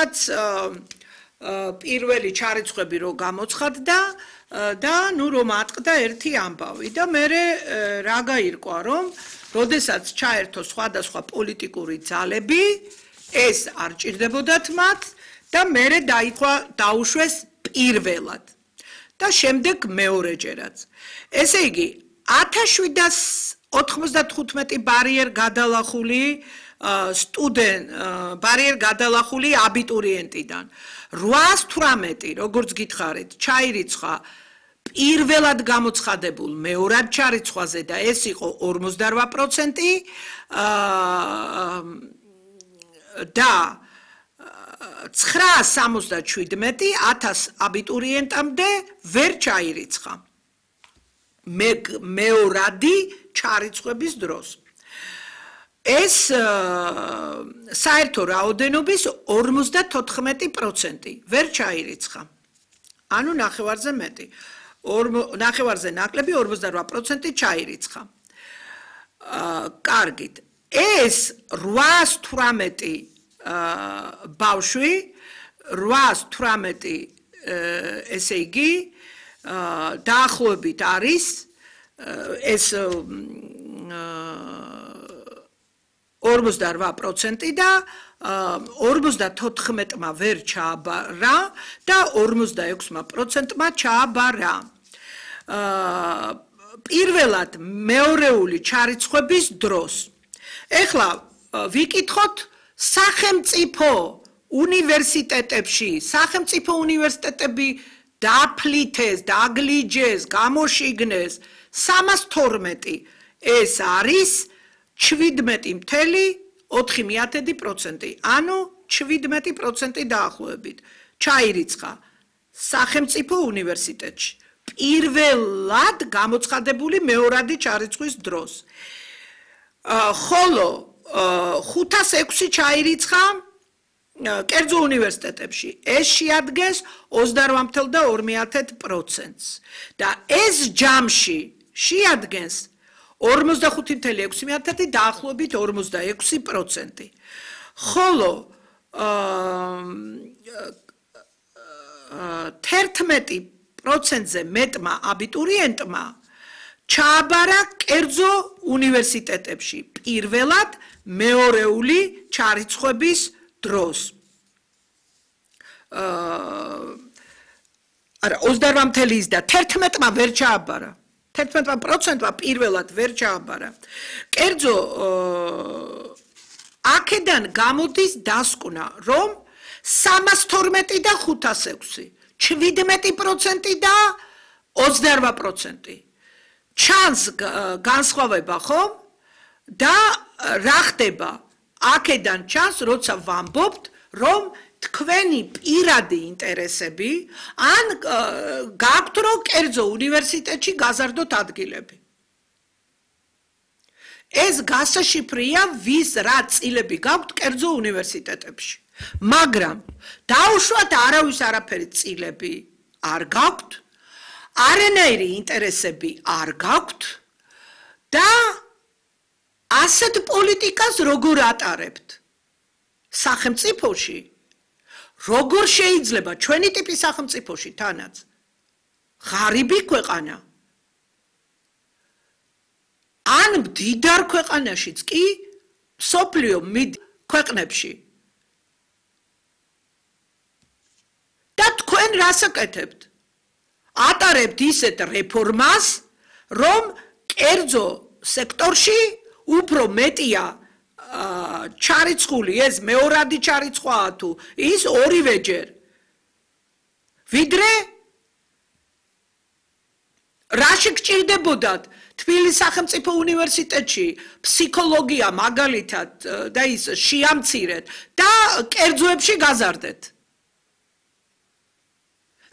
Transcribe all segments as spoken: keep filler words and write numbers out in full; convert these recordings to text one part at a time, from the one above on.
როდესაც პირველი ჩარიცხვები რო გამოცხადდა და ნუ რომ ატყდა ერთი ამბავი და მე რა გაირკვა რომ როდესაც ჩაერთო სხვადასხვა პოლიტიკური ძალები ეს არ ჭირდებოდათ მათ და მე დაიქვა დაუშვეს პირველად და შემდეგ მეორეჯერაც ესე იგი ათას შვიდას ოთხმოცდათხუთმეტი ბარიერ გადალახული სტუდენტ ბარიერ გადალახული აბიტურიენტიდან რვაას თვრამეტი როგორც გითხარით ჩაირიცხა პირველად გამოცხადებულ მეორად ჩარიცხვაზე და ეს იყო ორმოცდარვა პროცენტი და ცხრაას სამოცდაშვიდმეტი ათას აბიტურიენტამდე ვერ ჩაირიცხა მეორადი ჩარიცხვების დროს ეს საერთო რაოდენობის ორმოცდათოთხმეტი პროცენტი ვერ ჩაირიცხა ანუ ნახევარზე მეტი ნახევარზე ნაკლები ორმოცდარვა პროცენტი ჩაირიცხა კარგით ეს რვაას თვრამეტი ბავშვი რვაას თვრამეტი ესე იგი დაახლოებით არის ეს ორმოცდარვა პროცენტი და ორმოცდათოთხმეტმა ვერ ჩააბარა და ორმოცდაექვსმა პროცენტმა ჩააბარა პირველად მეორეული ჩარიცხვების დროს ეხლა ვიკითხოთ სახელმწიფო უნივერსიტეტებში სახელმწიფო უნივერსიტეტები დაფლითეს, დაგლიჯეს, გამოშიგნეს სამას თორმეტი ეს არის შვიდმეტი მთელი ოთხი მეათედი პროცენტი ანუ შვიდმეტი პროცენტი დაახლოებით ჩაირიცხა სახელმწიფო უნივერსიტეტში პირველად გამოცხადებული მეორადი ჩარიცხვის დროს ხოლო ხუთას ექვსი ჩაირიცხა კერძო უნივერსიტეტებში ეს შეადგენს ოცდარვა და ორი პროცენტს და ეს ჯამში შეადგენს ორმოცდახუთი ექვსი დაახლოებით ორმოცდაექვსი პროცენტი ხოლო თერთმეტი პროცენტზე მეტმა აბიტურიენტმა ჩააბარა კერძო უნივერსიტეტებში პირველად მეორეული ჩარიცხვების დროს არა ოცდარვა და თერთმეტმა ვერ ჩააბარა თერთმეტმა პროცენტმა პირველად ვერ ჩააბარა კერძო აქედან გამოდის დასკვნა რომ სამას თორმეტი და ხუთას ექვსი შვიდმეტი პროცენტი და ოცდარვა პროცენტი ჩანს განსხვავება ხომ და რა ხდება აქედან ჩანს როცა ვამბობთ რომ თქვენი პირადი ინტერესები ან გაქვთ რომ კერძო უნივერსიტეტში გაზარდოთ ადგილები ეს გასაშიფრია ვის რა წილები გაქვთ კერძო უნივერსიტეტებში მაგრამ დაუშვათ არავის არაფერი წილები არ გაქვთ არანაირი ინტერესები არ გაქვთ და ასეთ პოლიტიკას როგორ ატარებთ სახელმწიფოში როგორ შეიძლება ჩვენი ტიპის სახელმწიფოში თანაც ღარიბი ქვეყანა ან მდიდარ ქვეყანაშიც კი მსოფლიო ქვეყნებში და თქვენ რას აკეთებთ ატარებთ ისეთ რეფორმას რომ კერძო სექტორში უფრო მეტია ჩარიცხული ეს მეორადი ჩარიცხვაა თუ ის ორივეჯერ ვიდრე რაში გჭირდებოდათ თბილისის სახელმწიფო უნივერსიტეტში ფსიქოლოგია მაგალითად და ის შეამცირეთ და კერძოებში გაზარდეთ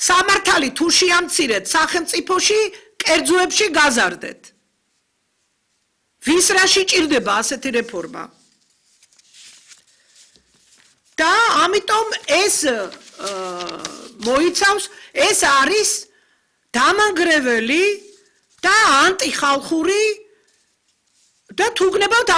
სამართალი თუ შეამცირეთ სახელმწიფოში კერძოებში გაზარდეთ ვის რაში ჭირდება ასეთი რეფორმა და ამიტომ ეს მოიცავს ეს არის დამანგრეველი და ანტიხალხური და თუ გნებავთ